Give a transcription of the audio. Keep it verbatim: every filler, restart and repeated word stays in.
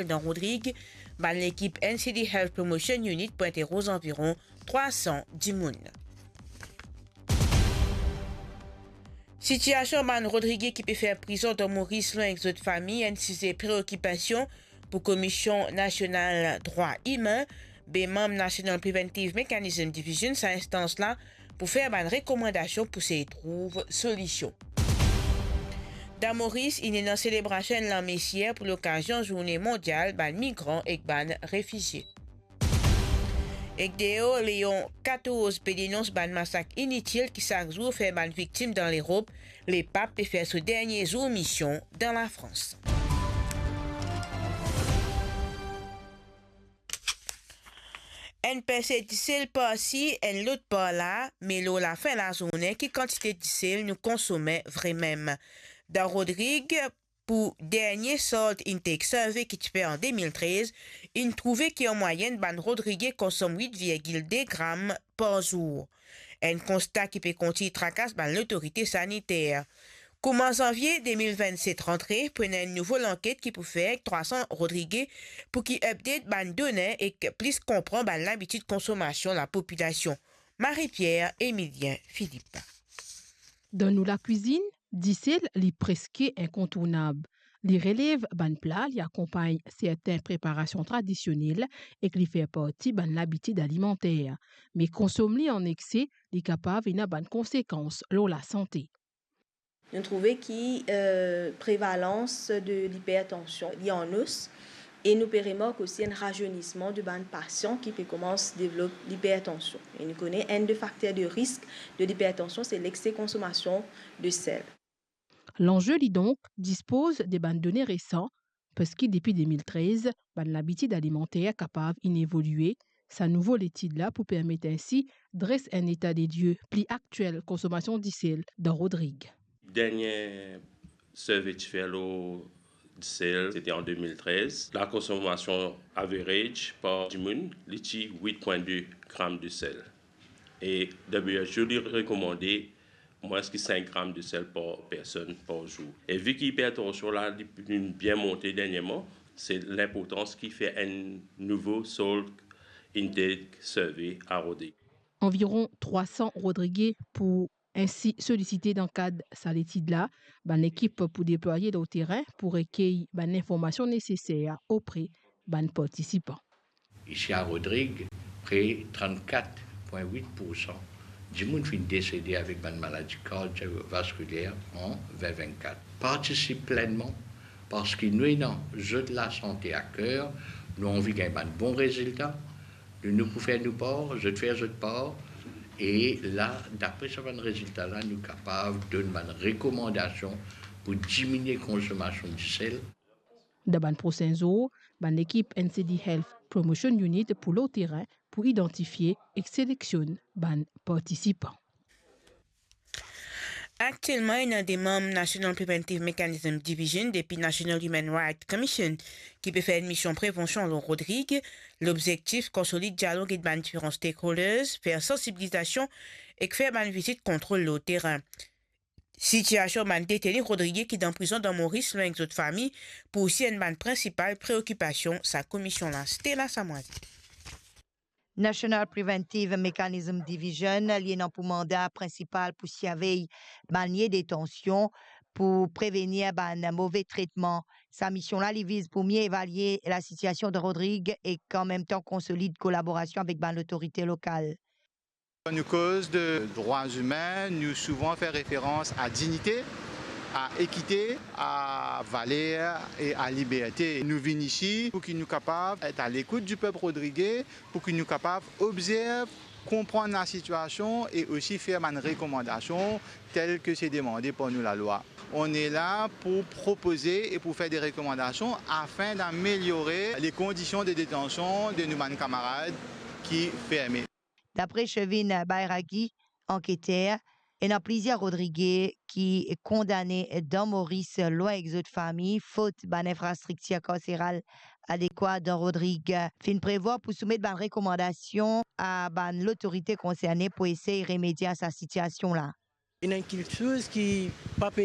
dan Rodrig, bann lekip N C D Health Promotion Unit pou interoz anviron trwa san dimoun. Sitiasion bann Rodrige ki pe fer prizon dan Moris lwin ek zot fami enn size preokipasion pou Komisyon Nasional Drwa Imin, be manm National Preventive Mechanism Division, sa instans la pou fer bann rekomandasion pou sey trouv solision. Dan Moris, inn ena selebrasion enn lamesier pou lokazion Zourne Mondial bann Migran ek bann Refizie. Ek deor, Leon katorz pe denons bann masak initil ki sak zour fer bann viktim dan Lerop, Lepap pe fer so dernie zour mision dan Lafrans. Enn perse disel parsi, enn lot par la, me lor lafin lazourne, ki kantite disel nou konsome vremem? Dan Rodrig, pou dernie Salt Intake Survey ki ti fer an de mil trez, inn trouve ki an mwayenn bann Rodrige konsom wit virgil de gram par zour. Enn konsta ki pe kontign trakas bann lotorite saniter. Kouma zanvie de mil vennset rantre, pou ena enn nouvo lanket ki pou fer ek trwa san Rodrige pou ki update bann done ek plis konpran bann labitid konsomasion lapopilasion. Marie-Pierre Emilien Philippe. Dan nou lakwizinn, disel li preske inkontournab. Li relev bann pla, li akonpagn sertin preparasion tradisionel ek li fer parti bann labitid alimanter. Me konsom li an ekse, li kapav ena bann konsekans lor lasante. Nou trouve ki, eh, prevalans de lipertansion li an os e nou pe remark osi enn razeynisman de bann pasian ki pe koumans devlop lipertansion. E nou kone enn de fakter de risk de lipertansion, se lekse konsomasion de sel. Lanze li donk dispoz de bann done resan, parski depi de mil trez, bann labitid alimanter kapav inn evolie. Sa nouvo letid la pou permet ensi dres enn eta de lie pli aktiel konsomasion disel dan Rodrig. Dernie survey ti fer lor disel, se ti an de mil trez. Lakonsomasion average par dimoun, li ti wit pwin de gram disel. E W H O li rekomande mwins ki sink gram disel par personn par zour. E vi ki ipertansion la, li, li bien monte dernieman, se linportans ki fer enn nouvo Salt Intake Survey a Rodrig. Anviron trwa san Rodrige pou ensi solisite dan kad sa letid la. Bann lekip pou deplwaye lor terin pou rekey bann linformasion neseser opre bann partisipan. Isi a Rodrig, pre trannkat pwin wit poursan dimoun finn desede avek bann maladi kardiovaskuler an vin vennkat. Partisip plennman, parski nou ena zot lasante a ker, nou anvi gagn bann bon rezilta, nou, nou pou fer nou par, zot fer zot par, e la, dapre sa bann rezilta la, nou kapav donn bann rekomandasion pou diminie konsomasion disel. Dan bann prosin zour, bann lekip N C D Health Promotion Unit pou lor terin pou idantifie ek seleksionn bann partisipan. Aktielman, ena de manm National Preventive Mechanism Division depi National Human Rights Commission ki pe fer enn mision prevansion lor Rodrig. Lobzektif, konsolid dialog ant bann diferan stakeholders, fer sansibilizasion ek fer bann vizit kontrol lor terin. Sitiasion bann deteni Rodrige ki dan prizon dan Moris lwin ek zot fami pou osi enn bann prinsipal preokipasion sa komisionn la. Stella Samwazi. National Preventive Mechanism Division, li ena pou manda prinsipal pou sirvey bann lie detansion, pou prevenir bann move tretman. Sa mision la, li viz pou mie evalie lasitiasion de Rodrig ek an mem tan konsolid kolaborasion avek bann lotorite lokal. Kan nou koz de drwa imin, nou souvan fer referans a dinite, a ekite, a valer e a liberte. Nou vinn isi pou ki nou kapav et a lekout di pep rodrige, pou ki nou kapav obzerv, konprann lasitiasion e osi fer bann rekomandasion tel ke se demande par nou lalwa. On est là pour proposer et pour faire des recommandations afin d'améliorer les conditions de détention de nou bann kamarad ki ferme. Dapre Chevin Bairagi, anketer, ena plizier Rodrige ki kondane dan Moris lwin ek zot fami, fot bann infrastriktir karseral adekwa dan Rodrig. Finn prevwar pou soumet bann rekomandasion a bann lotorite konserne pou esey remedie a sa sitiasion la. Ena enn kiksoz ki pa pe